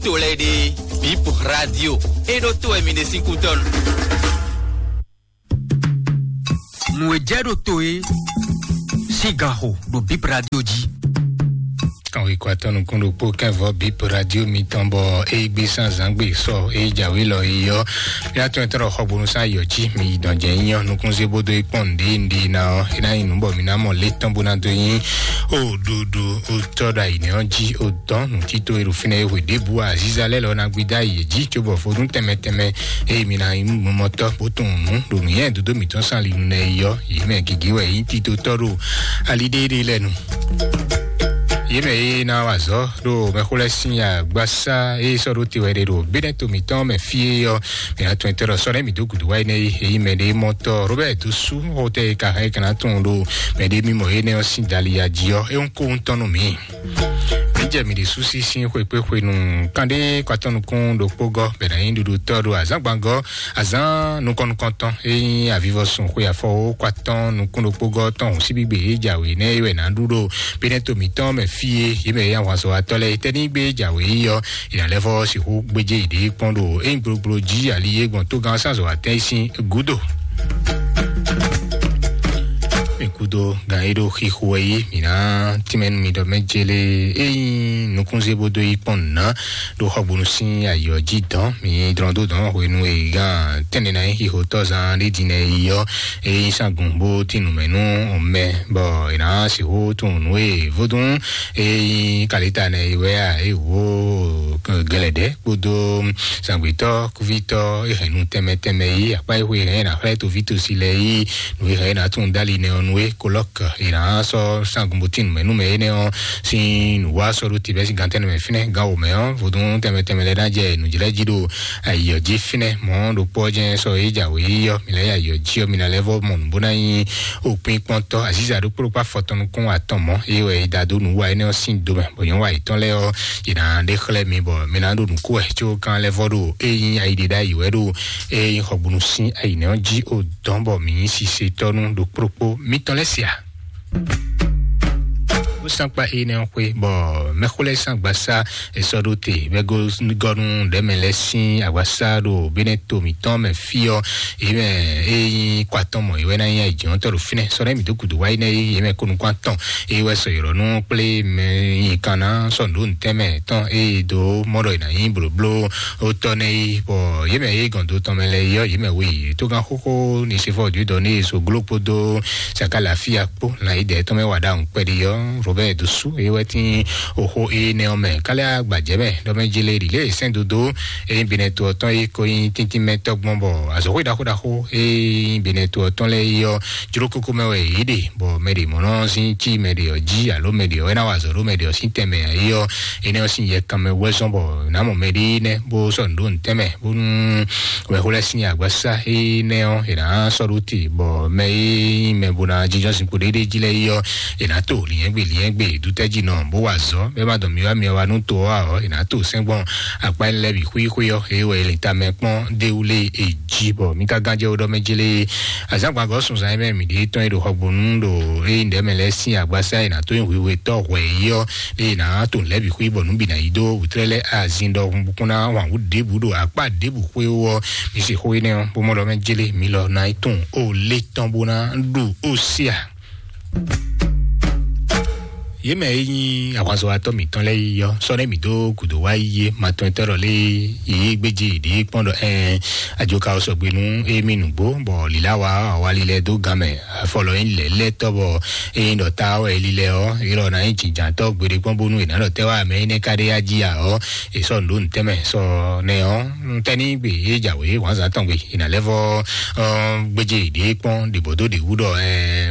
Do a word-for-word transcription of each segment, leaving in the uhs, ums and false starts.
To lɛ́ɛ ɖe, Bip Radio, é ɖó to wɛ mi ɖe sín kútɔ́nu. Nǔ e jɛ ɖo to é sín gan xo ɖo Bip Radio jí. Kan wí kɔ atɔ́ nukún ɖokpó kɛ́nvɔ Bip Radio mitɔn bɔ é gbé sán zǎngbe sɔ é jǎwe lɔ é yɔ. Mía tɔn tɔn xɔgbónú sán yɔ jí mi dɔn jɛ nyɔ nukún zé bódó é kpɔn nɖé nɖé ná ɔ é ná nyí nǔ bɔ mi ná mɔ lé tɔn bó ná dó nyí o ɖoɖo o tɔ ɖo ayǐ nɛ ɔ jí o dɔn nǔtító e ɖo fínɛ́ é hwe ɖěbǔ azíza lɛ́ lɔ ná gbé dó ayǐ jí cóbɔ vodún tɛnmɛ tɛnmɛ eye mi ná nyí mɔmɔtɔ́ bó tunwun nǔ ɖo nǔnywɛ́ dodó mǐtɔn sín ali nú nɛ é yɔ yě mɛ gěgé wɛ nyí titotɔ́ ɖo ali ɖéɖé lɛ́ɛ nu. Yě mɛ e ná wa azɔ̌ ɖo mɛxó lɛ́ɛ sín agbasá e sɔ́ ɖó te wɛ ɖe ɖo Benɛto mǐtɔn mɛ fí é ɔ́, mǐ ná tɔn tɛ́ ɖɔ sɔ́ nɛ́ mǐ dó gǔdo wá énɛ́ é, é nyí mɛ ɖé mɔtɔ́ Robert Dosu xɔtɛ e ka hɛn é ka ná tunwun ɖo mɛ ɖé mímɔ énɛ́ ɔ́ sín dali ya jí ɔ́, é ń kó ń tɔn nú mǐ. Mǐ jɛ mǐ ɖésú sísí xwekpéxwenu kanɖé kɔ atɔ́ nukún ɖokpó gɔ́ bɛ ná nyí ɖuɖutɔ́ ɖo azǎngbangɔ́ azǎn nukɔn-nukɔntɔn e nyí avivɔsun xwe afɔwó kɔ atɔ́ nukún ɖokpó gɔ́ tɔn hǔn síbígbe e jǎwe nɛ́ é wɛ ná ɖu ɖo Benɛto mǐtɔn mɛ fí e yě mɛ e nyí ahwanzɔ́watɔ́ lɛ́ɛ tɛ́ ní gbé jǎwe yi ɔ́, è nǎ lɛ́ vɔ́ sixú gbéjé yěɖée kpɔ́n ɖo é nyí gblogbló jí ali e gbɔn tógán sánzɔ́watɛ́n sín gúdo. Mi kúdó gan e ɖo xixo wɛ yí mǐ ná tínmɛ nú mi ɖɔ mɛ jélé é nyí nukúnzé bó dó yí kpɔ́n nǔ ná ɖo xɔgbónú sín ayǐ ɔ́ jí dɔn. Mi dlɔ́n dó dɔn hwenu e gán tɛ́nnɛ ná nyí xixotɔ́zán ɖé din nɛ yi ɔ́, é nyí sángun bó tín nǔ mɛ nú mɛ bɔ è nǎ sixú tunwun nǔ e vodún é nyí kalita nɛ yi wɛ a é wǒ gɛlɛdɛ́ kpódó zǎngbetɔ́ kúvítɔ́ é hɛn nú tɛnmɛ tɛnmɛ yí akpá e xwe hɛn ná xlɛ́ toví tosi lɛ́ɛ yí nǔ e hɛn ná tún dali nɛ ɔ́ nú é kolɔ́k è nǎ sɔ́ sángun bó tín nǔmɛ nú mɛ énɛ́ ɔ́ sín nǔwá sɔ́ ɖó te bɛ́ sín gantɛ́ nɛmɛ fínɛ́ gán wǒmɛ ɔ́ vodún tɛnmɛ tɛnmɛ lɛ́ɛ ná jɛ nǔjlɛ́ jí ɖo ayǐ ɔ́ jí fínɛ́ mɔ̌ ɖokpó ɔ́ jɛ́n sɔ́ é jǎwe yí ɔ́ mi lɛ́ yi ayǐ ɔ́ jí ɔ́ mi ná lɛ́ vɔ́ mɔ nǔ bó ná nyí òpin kpɔ́ntɔ́ azíza ɖokpó ɖokpó afɔtɔn nukún atɔn mɔ̌ é wɛ é da dó nǔ wa énɛ́ ɔ́ sín do mɛ bɔ nyɔ̌nu wa yětɔn lɛ́ɛ ɔ́ yě ná ɖe xlɛ́ mi bɔ mi ná ɖo nǔ kó wɛ có kan lɛ́ vɔ́ ɖo é nyí ayǐɖiɖa yǐ wɛ ɖo é nyí xɔgbónú sín ayǐnɛ ɔ́ jí o dɔn bɔ mǐ nyí sisetɔ́ nú ɖokpóɖokpó mitɔn lɛ́ɛ sia. Ó sán kpa énɛ́ ɔ́ xwé bɔ mɛxó lɛ́ɛ sín agbasá è sɔ́ ɖó te bɛ́ gɔ́nú ɖɛ̌mɛ lɛ́ɛ sín agbasá ɖo Benɛto mǐtɔn mɛ fí ɔ́, yě mɛ é nyí kɔ atɔn mɔ yě wɛ ná nyí ayǐjínjɔ́ntɔ́ ɖo fínɛ́ sɔ́ ná mǐ dó gǔdo wá énɛ́ yě mɛ kó nukún atɔn é wɛ sɔ ylɔ̌ nú kplé mɛ nyi kan ná sɔ́ nǔ ɖó nǔtɛ́mɛ tɔn é dó mɔ ɖɔ è nǎ nyí blǒbló ó tɔ́ nɛ́ yí bɔ yě mɛ é gɔn do tɔn mɛ lɛ́ɛ yí ɔ́ yě mɛ we yě tó gán xóxó ní se fɔ dǐdɔ ní so gló kpódó saka lafia kpó lan yi dɛ tɔn mɛ wa ɖa ŋu kpɛɖi ɔ́ Robert Dosu é wɛ tín oxó é nɛ ɔ́ mɛ kálí agbadzɛ mɛ ɖɔ mɛ jele ɖi lé sɛn dodo é binɛ to ɔtɔn é ko nyi tíntín mɛ tɔgbɔn bɔ azɔxó ɖaxó ɖaxó é binɛ to ɔtɔn lɛ yí ɔ́ jló kókó mɛ wɛ yě ɖe bɔ mɛ ɖě mɔ nɔ sín cí mɛ ɖě ɔ́ jí alo mɛ ɖě ɔ́ é ná wa azɔ̌ ɖó mɛ ɖě ɔ́ sín tɛnmɛ é ɔ́ énɛ́ ɔ́ sín yɛ kanmɛ wɛ́ zɔ́n bɔ nǎ mɔ mɛ ɖé nɛ́ bó sɔ́ nǔ ɖó nǔtɛn mɛ bónú wɛ̌xó lɛ́ɛ sín agbasá énɛ́ ɔ́ è nǎ sɔ́ ɖó te bɔ mɛ e nyí mɛ bó ná jínjɔ́n zinkpo ɖéɖé jí lɛ́ɛ é ɔ́ è nǎ to lyɛ̌ngbe lyɛ̌ngbe dútɛ́jínɔ bó wa azɔ̌ bɛ́ má dɔn myɔ wá myɔ wá nú to ɔ́ ǎ ɔ́ è nǎ to sɛ́ngbɔn akpá énɛ́ lɛ́ɛ bǐ xwíxwí ɔ́ é wɛ è lin tamɛ kpɔ́n déwúlé è jí bɔ mí ka gán jɛ wó ɖɔ mɛ jélé azǎngbagɔ́ sunzan e mɛ mǐ ɖe tɔn e ɖo xɔgbónú ɖo ényí ɖɛ̌ mɛ lɛ́ɛ sín agbasá e nǎ tó nyí hwihwetɔ́ hwɛ yí ɔ́ lé nǎ to nǔ lɛ́ɛ bǐ xwí bɔ nǔ bǐ ná yi dó wǔtrɛ́ lɛ́ɛ azin ɖɔhun bó kún ná wǎn wú ɖěbǔ ɖo akpá ɖěbǔ xwé ó ɔ́ mi se xó énɛ́ ɔ́ bó mɔ ɖɔ mɛ jélé mi lɔ ná yi tunwun ó lé tɔn bó ná ɖu ó sí a. Yě mɛ e nyí ahwanzɔ́watɔ́ mǐtɔn lɛ́ɛ yi ɔ́ sɔ́ nɛ́ mǐ dó gǔdo wá yi é matɔntɔ́ ɖɔ lé yě gbéjé yěɖée kpɔ́n ɖɔ ɛɛ ajoka ɔ́ sɔgbe nú émí nǔgbó bɔ lǐlá wa awali lɛ́ɛ dó gan mɛ afɔlɔ nyí lɛ̌lɛ́tɔ́ bɔ é nyí ɖɔ ta wɛ é lílɛ́ ɔ́ é lɔ ná nyí jǐnjǎntɔ́ gbeɖé kpɔ́n bónú è nǎ ɖɔ tɛ́ wá mɛ énɛ́ ká ɖé yá jí ǎ ɔ́ è sɔ́ nǔ ɖó nǔtɛ́ mɛ sɔ nɛ ɔ́ tɛ́ ní gbe é jǎwe wǎnzǎn tɔn gbe è nǎ lɛ́ vɔ́ gbéjé yěɖée kpɔ́n ɖě bɔ dó ɖě wú ɖɔ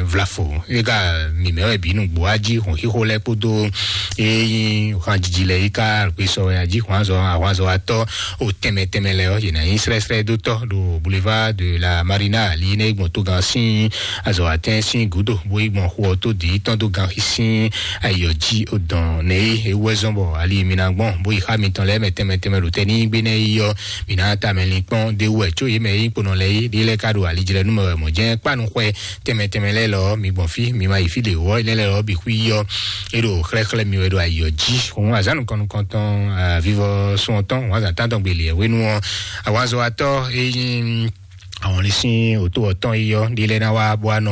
vlafo é ka mǐmɛ́ wɛ bǐ nǔgbó wá jí hɔn xíxó lɛ́ɛ kpódó é nyí hanjiji lɛ́ɛ é ka gbe sɔ wɛ ají hwanzɔ ahwanzɔ atɔ́ o tɛnmɛ tɛnmɛ lɛ́ɛ ɔ́ yě ná nyí srɛ́srɛ́ dó tɔ́ ɖo boulevard de la marina ali nɛ gbɔn tógán sín azɔ̌watɛ́n sín gǔdo bó yi gbɔn xo ɔ́ tó dǐ tɔn dó gan xí sín ayǐ ɔ́ jí o dɔn nɛ é é wú wɛ zɔ́n bɔ ali mi ná gbɔn bó yi xá mitɔn lɛ́ɛ mɛ tɛnmɛ tɛnmɛ ɖo tɛ́ ní gbé nɛ́ yi ɔ́ mi ná ta mɛ linkpɔ́n d'é wú wɛ có yě mɛ é nyí kponɔ lɛ́ɛ é ɖé lɛ́ɛ ka ɖo alijlɛ́nú mɛ wɛ mɔ̌ jɛ́n kpánu xwɛ tɛnmɛ tɛnmɛ lɛ́ɛ lɔ mi gbɔn fí mi ma yi fí ɖě wú ɔ́ énɛ́ lɛ́ɛ lɔ bǐ xwí yi ɔ́ é ɖo xlɛ́xlɛ́ mi wɛ ɖo ayǐ ɔ́ jí. Òun azǎn nukɔn nukɔntɔn vivɔ sun ɔtɔn, òun azǎn tántɔn gbeli ɛ wénu ɔ́, awazɔwatɔ́ é nyí àwọn lè sín òtó ɔtɔn yi ɔ́ ɖi lɛ ná wá bó wá nɔ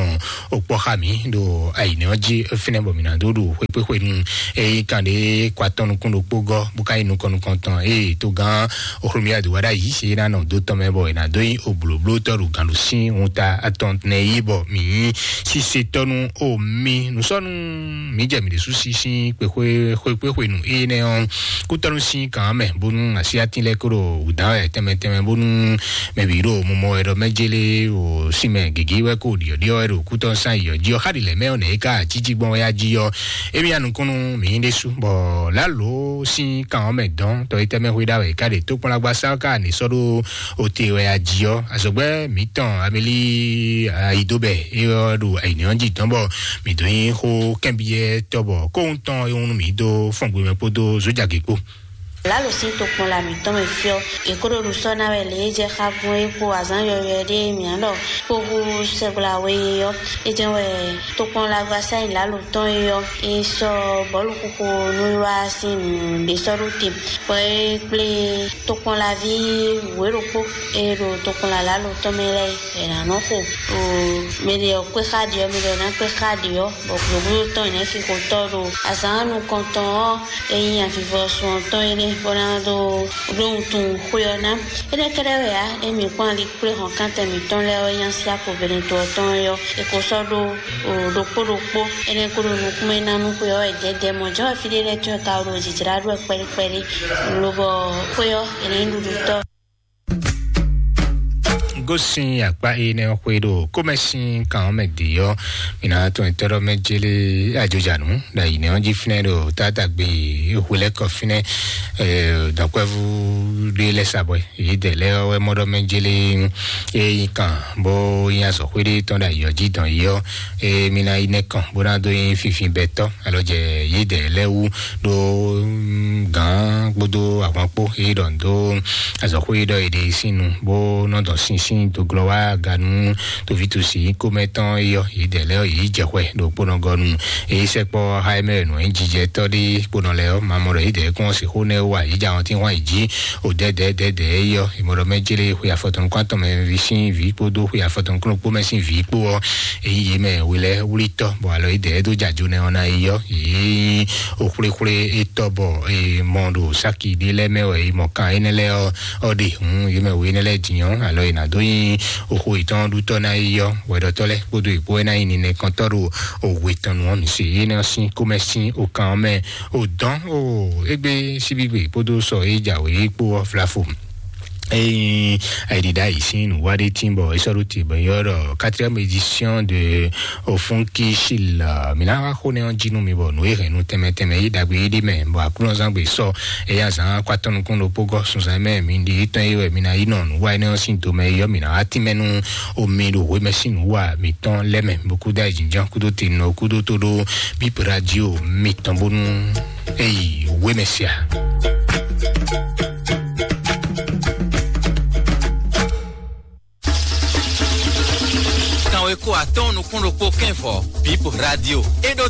òkpɔ xa mǐ ɖo ayǐnɛ ɔ́ jí fínɛ́ bɔ mǐ ná dó ɖu xwékpéxwenu. Eye kan ɖé kɔ atɔn nukún ɖokpó gɔ́ bó ka yi nukɔn nukɔntɔn eye tó gán òxlómi adùwádá yìí ṣe ná nɔ dó tɔn mɛ bɔ è nǎ dó nyi òblǒblótɔ́ ɖo gǎn ɖo sín wuta atɔn nɛ yí bɔ mǐ nyí sísetɔ́ nú omi nǔsɔ́nù. Mǐ jɛ mǐ ɖésú sí sín kpexwé xwékpéxwenu énɛ́ ɔ́ kútɔ́nú sín kàn mɛ bónú así atín lɛ́ɛ kó ɖo wǔdán wɛ tɛnmɛ tɛnmɛ bónú mɛ bǐ ɖo mumɔ wɛ ɖɔ mɛ jélé o sinmɛ gěgé wɛ kó ɖiɔ̌ɖiɔ́ wɛ ɖo kútɔ́ sán yɔ̌ jí ɔ́ xá ɖi lɛ̌ mɛ ɔ́ nɛ̌ é ká jíjí gbɔn wɛ yá jí ɔ́. Émí anukúnnú mǐ ɖésú bɔ lǎlo sín kan ɔ́ mɛ dɔn tɔ é tɛmɛ xwé ɖa wɛ é ká ɖe tókpɔnlágbá sán ká ní sɔ́ ɖó ote wɛ yá jí ɔ́. Azɔ̌gbɛ́ mǐtɔn Amelí Ayidóbɛ é ɔ́ ɖo ayǐnɛ́ ɔ́ jí dɔn bɔ mǐ dó nyí xó kɛ́nbyɔ́ tɔ́ bɔ kóhun tɔn e wun mǐ dó fɔ́n gbemɛ kpódó zójagě kpó. Lalo sín tokpɔn la mǐtɔn mɛ fyɔ́. È kó ɖo nǔ sɔ́ ná wɛ lě e jɛ xagun é kpo azǎn yɔywɛ ɖé e mǐ á ɖɔ kpóhú sɛgbla we é ɔ́. É jɛ́n wɛ tokpɔn la gba sáyìn lalo tɔn é ɔ́, é sɔ́ bɔ̌lu xixo nú é wá sín nǔ ɖé sɔ́ ɖó te, bɔ é kplé tokpɔn la ví wěɖokpó e ɖo tokpɔn la lalo tɔn mɛ lɛ́ɛ. È nǎ nɔ xo o mɛ ɖě ɔ́ kpé xá ɖě ɔ́, mɛ ɖě ɔ́ ná kpé xá ɖě ɔ́, bɔ gběgbúɖó tɔn ɔ́ nɛ́ xixotɔ́ ɖo azǎn nukɔntɔn ɔ́, é nyí avivɔsun ɔ́ tɔn é nɛ́ bó ná dó ɖó wuntun xwé ɔ́ ná. Énɛ́ kɛ́ɖɛ́ wɛ ǎ, émí kpɔ́n ali kplé hɔnkántɛn mǐtɔn lɛ́ɛ ɔ́ nyá sí akpo Benɛto ɔ́ tɔn é ɔ́, è ko sɔ́ ɖó ɖokpó ɖokpó. Énɛ́ ko ɖo nukún mɛ ná nú xwé ɔ́ wɛ dɛ̌dɛ̌ mɔ̌ jɔ́n wɛ fí ɖé lɛ́ɛ tɔn e ka ɖo jǐjlá ɖó wɛ kpɛɖé kpɛɖé, lobɔ xwé ɔ́ è nǎ nyí ɖuɖutɔ́. Gosin akpa énɛ́ xwé ɖo kómɛsin kan ɔ́ mɛ dě ɔ́, mǐ ná tɔn tɔ́ ɖɔ mɛ jélé ajojanu ɖo ayǐnɛ́ ɔ́ jí fínɛ́ ɖo tátágbe hwelɛ́kɔ fínɛ́. Dɔ̌nkpɛvú ɖé lɛ́ sa bɔɛ yědɛɛ lɛ́ɛ ɔ́ wɛ mɔ ɖɔ mɛ jélé é nyí kan bó nyí azɔ̌xwé ɖé tɔn ɖo ayǐ ɔ́ jí dɔn yi ɔ́, é mí ná yi nɛ́ kɔn bó ná dó nyí finfinbɛtɔ́ alɔ jɛ yědɛɛ lɛ́ɛ wú ɖó gǎn kpódó ahwan kpó é ɖɔ dó azɔ̌xwé ɖɔ è ɖe sín nu bó nɔ dɔn sínsín dó glɔ́ wá ganu tovítɔ́sí komɛtɔn é yɔ yědɛɛ lɛ́ɛ yě jɛ xwɛ ɖo kpónɔgɔnu. Èyí sɛkpɔ ha e mɛ nǔ e jijɛtɔ́ ɖé kponɔ lɛ́ɛ ɔ́, mamɔ ɖɔ yědɛɛ kún ɔ́ sixú nɛ́ wa yě ja wɔn tín hwan yě jí o dɛdɛdɛdɛ é yɔ. Ìmɔ ɖɔ mɛ jélé xwe afɔtɔn kún atɔn mɛ vi sín vǐ kpódó xwe afɔtɔn kún ɖokpó mɛ sín vǐ kpó ɔ́, èyí yě mɛ we lɛ́ɛ wlítɔ́ bɔ alɔ yědɛɛ dó jajo nɛ ɔ́ ná yi yɔ. Yě nyí òxwlexwle étɔ́ bɔ è mɔ ɖo sáki ɖé lɛ́ɛ mɛ wɛ è mɔ kan énɛ́ lɛ́ɛ ɔ́ ɔ́ ɖe hǔn yě mɛ we énɛ́ lɛ́ɛ din ɔ́ alɔ è nǎ dó nyí òxo yětɔn ɖutɔ́ ná yi yɔ. Wɛɖɔtɔ́ lɛ́ɛ kpódó yě kpó wɛ ná nyí ninɛkɔntɔ́ ɖo òwe tɔn nu ɔ́ mi se yě nɔ sín kómɛ sín okan ɔ́ mɛ o dɔn o égbé síbígbe kpódó sɔ é jǎwe kpó ɔ́ vlafo. Eyin ayiɖiɖa yi sín nǔwáɖé tín bɔ é sɔ́ ɖó te bɔ é ylɔ́ ɖɔ quatrième édition de Ofunki Shil. Mǐ ná wá xó nɛ́ ɔ́ jí nú mi bɔ nǔ e hɛn nu tɛnmɛ tɛnmɛ yí ɖagbe yí ɖi mɛ bɔ aklúnɔzán gbe sɔ eya zán kó atɔ́ nukún ɖokpó gɔ́ sunzan mɛ mi ɖi étɔn yi wɛ mi ná yi nɔ nǔwa énɛ́ ɔ́ sín domɛ yi ɔ́ mi ná wá tínmɛ nú omi ɖo hwemɛ sín nǔwa mǐtɔn lɛ́ mɛ bó kú dá yi jínjɔ́n kúdó te nɔ kúdó tó ɖó bíp radio mitɔn bónú eyi wémɛ sia. Kanwe kó atɔ́ɔ́n nukún ɖokpó kɛ́nvɔ bíp radio é ɖó